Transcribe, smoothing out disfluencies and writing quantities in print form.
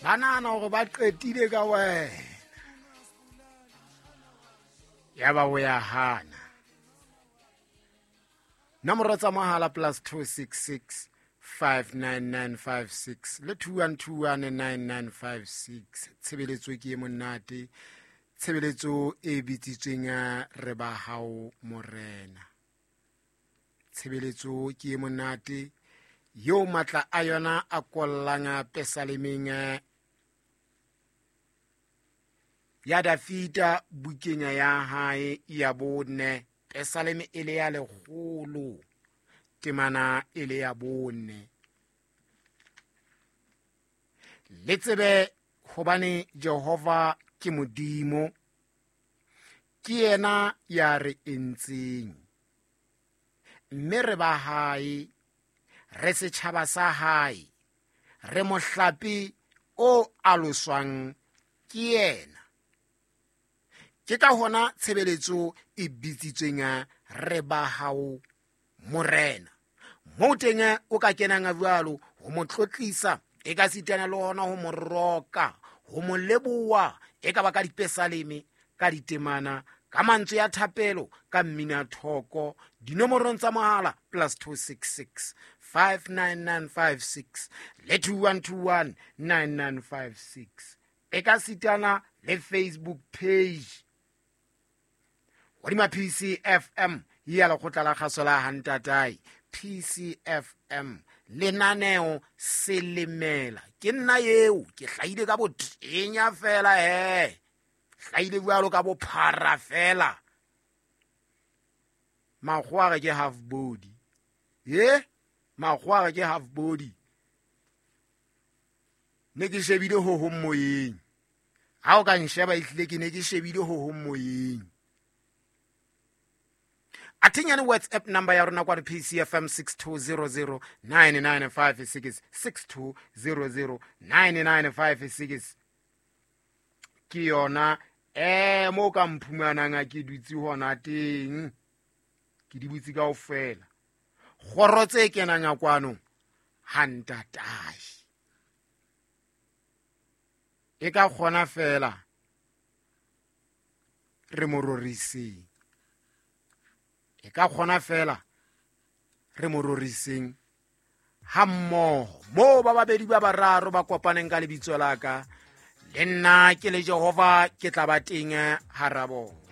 Ba nahana hore ba qetile ka wena, ya ba o ya hana. Nomoro tsa mohala +266 59956 le 21219956. Tshebeletso ke e monate, tshebeletso e bitsitsweng re ba hao morena. Tshebeletso ke e monate eo matla a yona a kollang pesalemeng ya Dafita bukeng ya hae ya 4, pesaleme e le ya 100, temana e le ya 4. Le tsebe hobane Jehova ke Modimo, ke yena ya re entseng, mme re ba hae, re setjhaba sa hae, re mohlape o aloswang ke yena. Ke ka hona tshebeletso e bitsitsweng re ba hao morena. Moo teng o ka kenang jwalo ho mo tlotlisa, e ka sitana le hona ho mo roka, ho mo leboha, e ka ba ka dipesaleme, ka ditemana, ka mantswe ya thapelo, ka mmina thoko. Dinomorong tsa mohala +266 59956 le 21219956. E ka sitana le Facebook page hodima PCFM ya lekgotla la kgaso la Hantatai. PCFM lenaneo Selemela. Ke nna eo, ke hlahile ka botenya fela, he hlahile jwalo ka bophara fela. Makgowa re ke half body, ye makgowa re ke half body. Ne ke shebile ho hong moyeng, ha o ka nsheba ehlile ke ne ke shebile ho hong moyeng. Athinyane WhatsApp number ya rona kwa PCFM 62009956, 62009956 ke yona mo ka mphumanang a ke dutse hona teng, ke di butse kaofela. Kgoro tse kenang a kwano ha ntatae e ka kgona fela re mo roriseng, e ka kgona fela re mo roriseng ha mmoho. Moo ba babedi ba bararo ba kopaneng ka lebitso la ka, le nna ke le Jehova ke tla ba teng hara bona.